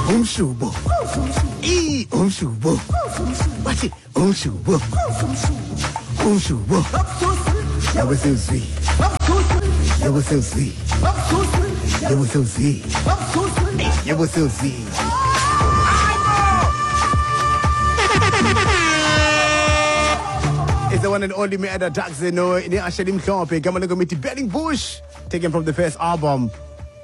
Umshubo. I umshubo. Bathi umshubo. Umshubo. Yabo sewuzwi. Yabo sewuzwi. Yabo sewuzwi. Yabo sewuzwi. It's the one and only Meada Jackson no ne Asheli Mhlophe igama lengoma ithi Burning Bush taken from the first album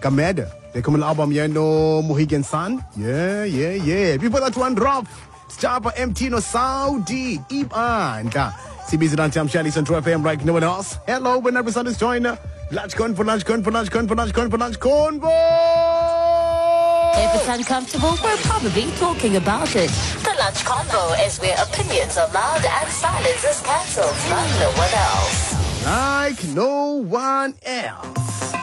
Kameda. The common album yeah no Mohegan Sun. Yeah, yeah, yeah. Before that one drop Stapa MT no Saudi Ibandla. CBZ on Tam Shani Central FM like no one else. Hello, when every Sunday's joiner. Lunch convo, lunch convo, lunch convo, lunch convo, lunch convo. If it's uncomfortable, we're probably talking about it. The Lunch Convo is where opinions are loud and silence is cancelled by no one else. Like no one else.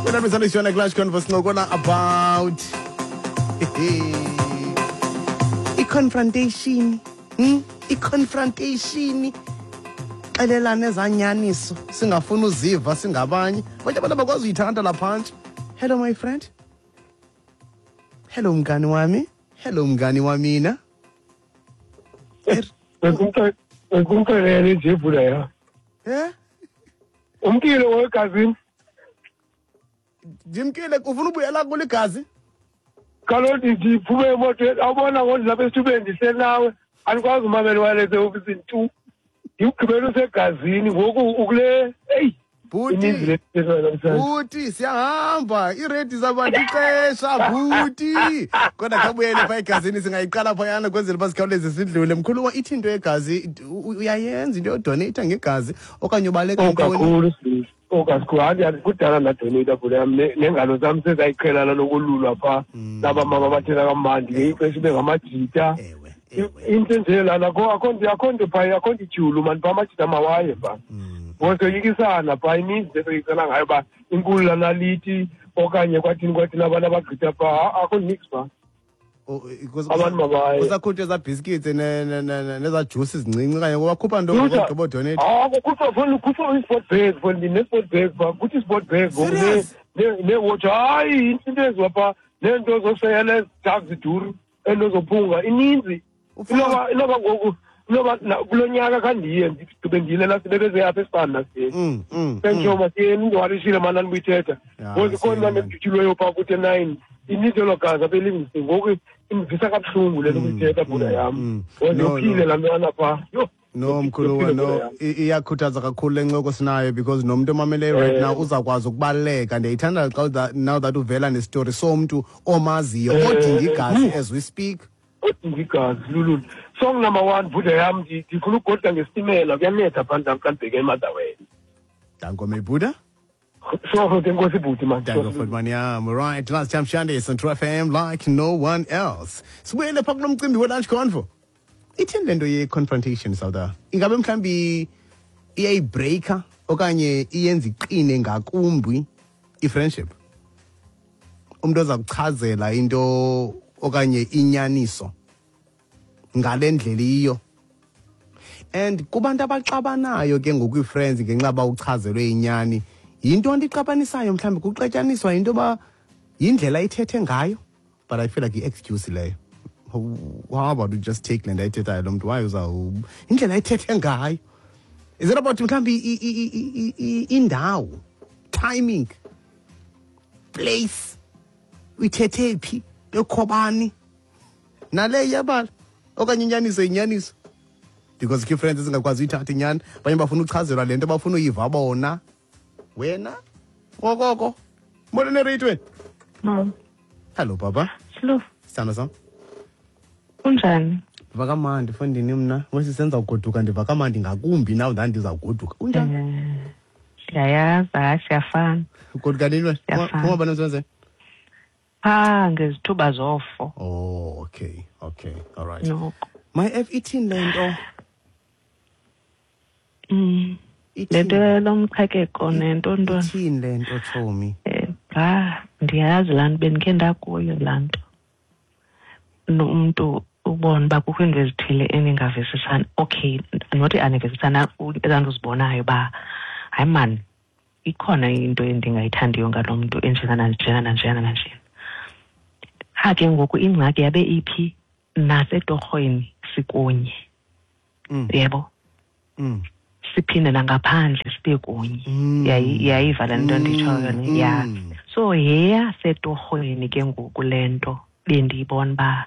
When every Sunday's joiner, lunch convo, sincokola about i-confrontation. I-confrontation. Xelelana ezanyaniso singafuni uziva singabanye. Abanye abantu abakwazi uyithanda lapha phantsi. Hello my friend. Hello mngani wami. Hello mngani wamina. Bekumxelele nje bhuda ya. Eh? Umkile wegazini. Ndimkile ufuna ubuyela kule gazi? Kaloku ndiphume emotweni awubona ngoku ndilapha esithubeni ndisenawe andikwazi umamela wireless eofisini tu. Ndikugqibela usegazini ngoku ukule eyi Bhuti, bhuti siyahamba iiredi zabantu ixesha bhuti kodwa khawubuyele phaa egazini singayiqala phayana kwenzela uba sikhawuleze sidlule mkhuluwa ithi into yegazi uyayenza into yodoneyitha ngegazi okanye ubaleka ntoni kakhulu okakhulu hayi kudala ndadoneyitha bhuti yam neengalo zam sezayiqhelana nokolulwa phaa naba mama bathela kamandi ngelinye ixesha ibe ngamajita into enje lana akho nto phaya akho nto ityhulu mani phaa amajita mawaye phaa ngoba soyikisana phaa ininzi into esoyikisana ngayo uba inkulu lanaliti okanye kwathini kwathini abantu abagqitha phaa akho nix phaa abantu mabaye kusakhutshwa ezaa biscuits nezaa juice zincinci okanye wakhupha nto ngogqiba udonate kukhutshwa foni kukhutshwa i-sport bag foni ndine-sport bag phaa kuthi i-sport bag ngoku neewotshi hayi into eziwa phaa neento zoseyela ezijag ziduru ento zophunga ininzi inoba ngoku inoba kulo nyaka khandiye ndigqibe ndiyile last bebeze apha esibani nasiyeni senditsho masiyeni indiwarishile mani andibuyithetha ngoku ikhona mani edutyulweyo phaa kuthi e-nine ininzi elo gazi apha elivingston ngoku indivisa kabuhlungu le nto kuyithetha bhuda yam ngoku yophile laa ntwana phaa yho No mkhuluwa no iyakhuthaza kakhulu le ncoko sinayo because nomntu omameleyo right now uzawukwazi ukubaluleka ndiyayithanda xa now that uvela nesitori somntu omaziyo odinga igazi as we speak odinga igazi lululu song number one bhuda yam ndifuna ugoduka ngesitimela kuyanetha phandle xa ndibheke eMotherwell Danko my Buddha. So, enkosi bhuti man. Danko futhi man yam. Right, last time Shandy on True FM like no one else. Sibuyele pha kulo mcimbi we-lunch convo. Ithini le nto ye-confrontation Sauda? Ingabe mhlawumbi iyayibreaker okanye iyenza iqine ngakumbi i-friendship? Umntu oza kuchazela into okanye inyaniso ngale ndlela iyiyo. And kubantu abaxabanayo ke ngoku ii-friends ngenxa yoba uchazelwe inyani, yinto ndixabanisayo mhlawumbi kuxatyaniswa yinto yoba yindlela ithethe ngayo, but I feel like i-excuse leyo. How about you just take le nto ayithethayo lo mntu wayo uzawu indlela ayithethe ngayo. Is it about mhlawumbi indawo, timing, place, uyithethe phi, bekhobani? Nale iyabala okanye inyaniso inyaniso because key friends ezingakwazi uyithatha inyani abanye bafuna uchazelwa le nto bafuna uyiva bona wena okoko molo nereyitweni Mama. Hello papa. Hello. Sithando sam. Unjani? Ndiva kamandi fondini mna wesisenza ugoduka ndiva kamandi ngakumbi now ndandizawugoduka unjani? Siyayazi hayi siyafana. Ugoduka nini wena? Phuma bani emsebenzini? Phaa ngezithuba zofo. Oh, okay, okay, all right. Noko. My F ithini le nto? Le nto lomqhekeko nento ntoni? Ithini le nto, tshomi? Bra, ndiyazi laa nto bendikhe ndakuyo laa nto. Umntu ubona uba kukho iinto ezithile eningavisisani. Okay, not anivisisana, ezaa nto uzibonayo uba hayi maan, ikhona into endingayithandiyo ngalo mntu enjena nanjena nanjena nanjena. Qha ke ngoku ingxaki yabe iphi? Nasetorhweni sikunye. Yebo. Siphinde nangaphandle sibe kunye. Yayiva le nto nditshoyo ne? Ya. So yeyasetorhweni ke ngoku le nto bendiyibona uba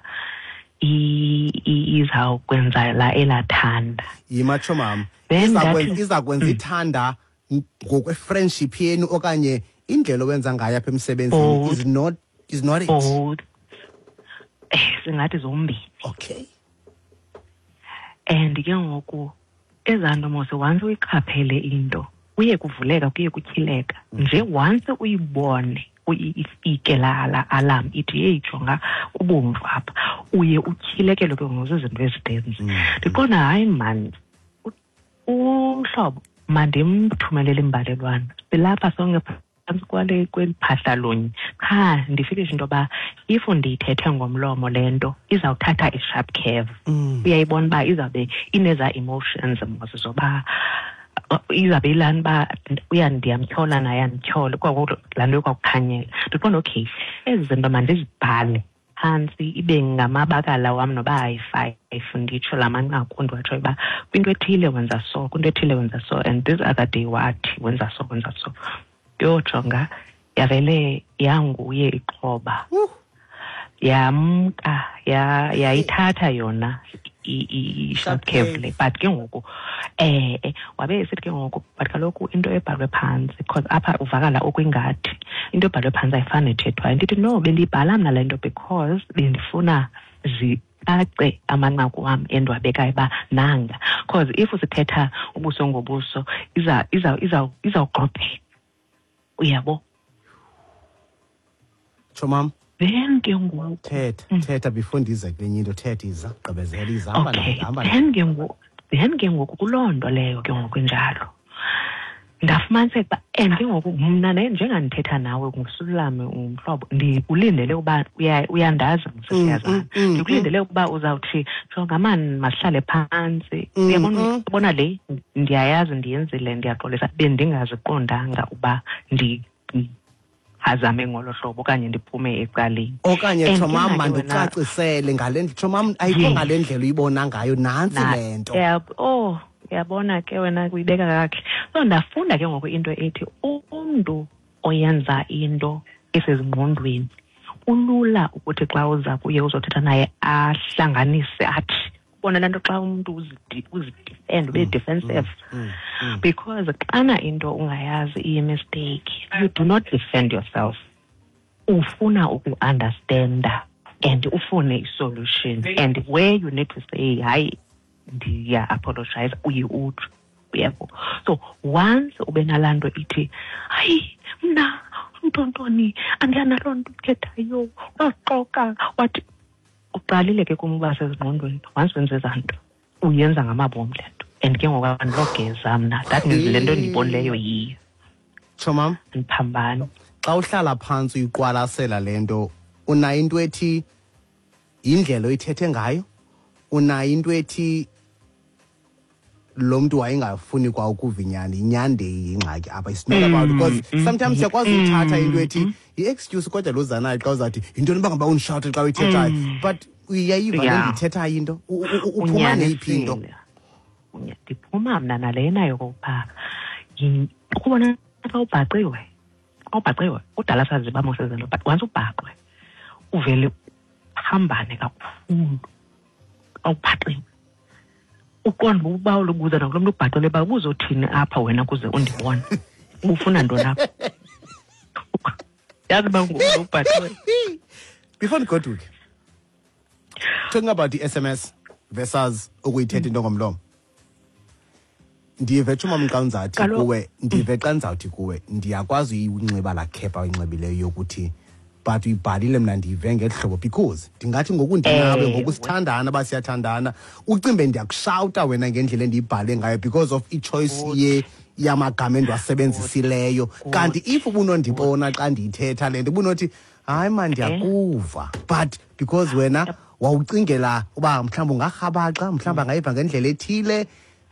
izawukwenza la elathanda. Yima, tshomam. Then ndathi- Iza kwenza ithanda ngokwe-friendship yenu okanye indlela owenza ngayo apha emsebenzini? Both. Is not it? Both. Singathi zombini. And ke ngoku ezaa nto mos, once uyiqaphele into, kuye kuvuleka, kuye kutyhileka nje. Once uyibone, ifike laa alarm ithi, "Yeyi, jonga, kubomvu apha," uye utyhilekelwe ke ngoku zizinto ezininzi. Ndiqonda, hayi mani, umhlobo mandimthumelele imbalelwano, silapha sonke phantsi kwale kweli phahla lunye. Qha ndifilishe into yoba if ndiyithethe ngomlomo le nto izawuthatha i-sharp curve. Uyayibona uba izawube inezaa emotions mos, zoba izawube ilani uba uya ndiyamtyhola naye andityhole, kwako laa nto ikwakukhanyela. Ndiqonda, okay, ezi zinto mandizibhale phantsi, ibe ngamabakala wam noba ayi-5, nditsho la manqaku ndiwatshoyo uba kwinto ethile wenza so, kwinto ethile wenza so, and this other day wathi wenza so, wenza so. Yojonga, yavele yanguye ixhoba, yamka, yayithatha yona i-sharp curve le. But ke ngoku wabe esithi ke ngoku, but kaloku into ebhalwe phantsi, because apha uvakala okwingathi into ebhalwe phantsi ayifani nethethwayo. Ndithi no, bendiyibhala mna le nto because bendifuna zicace amanqaku wam endiwabekayo uba nanga, because if sithetha ubuso ngobuso izawugqobheka, uyabo. Tshomam. Then ke ngoku Thetha, thetha before ndize kwenye into. Thetha, iza, gqibezela, iza, hamba nayo, hamba nayo. Then ke ngoku kuloo nto leyo ke ngoku injalo, ndafumaniseka uba, and ke ngoku mna ne njengandithetha nawe ngusulame, ungumhlobo, ndikulindele uba uyandazi, siyazana, ndikulindele ukuba uzawuthi, "Jonga mani, masihlale phantsi." Uyabona, uyabona le ndiyayazi ndiyenzile, ndiyaxolisa, bendingaziqondanga uba ndiphazame ngolo hlobo okanye ndiphume ecaleni. Okanye, And tshomam, ke na ke wena- mandicacisele ngale ndlela, tshomam, ayikho ngale ndlela uyibona ngayo, nantsi le nto. Oh, uyabona ke wena, uyibeka kakuhle. So ndafunda ke ngoku into ethi umntu oyenza into esezingqondweni kulula ukuthi xa uza kuye uzothetha naye ahlanganise, athi ubona laa nto xa umntu uzidefend, ube defensive, because xana into ungayazi iyi-mistake, you do not defend yourself. Ufuna uku-understanda and ufune i-solution, and where you need to say, "Hayi, ndiya-apologize," uye utsho, uyabo. So once ube nalaa nto ithi, "Hayi, mna ntontoni andiyanaloo nto ithethayo, waxoka," wathi uqalile ke kum uba sezingqondweni. Once wenze ezaa nto, uyenza ngamabom le nto, and ke ngoku andilogeza mna. That means le nto ndiyibonileyo yiyo. Tshomam. Andiphambani. Xa uhlala phantsi uyiqwalasela le nto, unayo into ethi yindlela oyithethe ngayo, unayo into ethi lo mntu wayengafuni kwa ukuva inyani, inyani ingxaki apha? It's not about, because sometimes siyakwazi uyithatha into ethi yi-excuse, kodwa lo zanayo xa uzawuthi yintoni uba ngaba undishawute xa uyithethayo, but uyayiva le ndiyithethayo into. Uphuma neyiphi into? Unyanisile. Ndiphuma mna nalena yokokuba ukubona xa ubhaqiwe, xa ubhaqiwe kudala sazi uba mos ezinto, but once ubhaqwe uvele uphambane kakhulu. Xa ubhaqiwe uqonda uba ulubuza nakulo mntu ubhaqile uba ubuzothini apha wena kuze undibone, ubufuna ntoni apha, yazi uba ngumntu ubhaqiwe. Before ndigoduke, talking about i-SMS versus ukuyithetha into ngomlomo, ndive, tshomam, xa ndizawuthi kuwe, ndive xa ndizawuthi kuwe, ndiyakwazi uyinxiba laa khepha oyinxibileyo yokuthi but uyibhalile, mna ndiyive ngeli hlobo, because ndingathi ngoku ndinawe, ngoku sithandana, uba siyathandana, ucimbe ndiyakushawuta wena ngendlela endiyibhale ngayo because of i-choice ye yamagama endiwasebenzisileyo. Kanti if ubunondibona xa ndiyithetha le nto, ubunothi, "Hayi man, ndiyakuva," but because wena wawucingela uba mhlawumbi ungarhabaxa, mhlawumbi angayiva ngendlela ethile,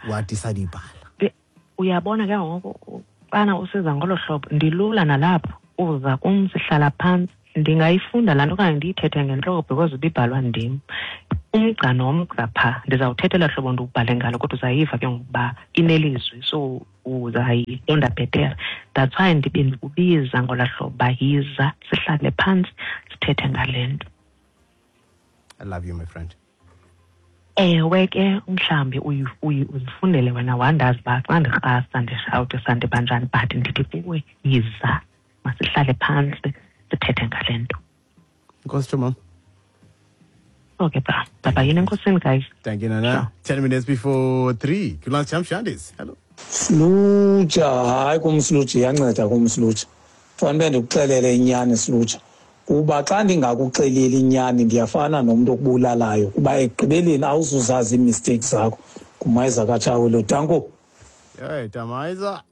wadicide uyibhala. Uyabona ke ngoku xana usiza ngolo hlobo, ndilula nalapho uza kum, sihlala phantsi. Ndingayifunda laa nto okanye ndiyithethe ngentloko because ibibhalwa ndim. Umgca nomgca phaa ndizawuthetha elaa hlobo ndiwubhale ngalo, kodwa uzayiva ke ngokuba inelizwi, so uzayiqonda bhetere. That's why ndibe ndikubiza ngolaa hlobo uba yiza sihlale phantsi sithethe ngale nto. I love you, my friend. Ewe ke, mhlawumbi uzifundele wena wandazi uba xa ndirhasa ndishawutisa ndiba njani, but ndithi kuwe yiza masihlale phantsi sithethe ngale nto. Nkosi Chomam. Okay, bra. Bye-bye. Yini enkosini, guys. Thank you, Nana. 10 minutes before 3. Good lunch, Champ Shandis. Hello. Slutsha, hayi kum Slutsha, iyanceda kum Slutsha. Fanele ndikuxelele inyani Slutsha. Kuba xa ndingakuxeleli inyani ndiyafana nomntu okubulalayo, kuba ekugqibeleni awuzuzazi ii-mistakes zakho. Ngumayiza kaTshawe lo. Danko. Hey, Tamayiza.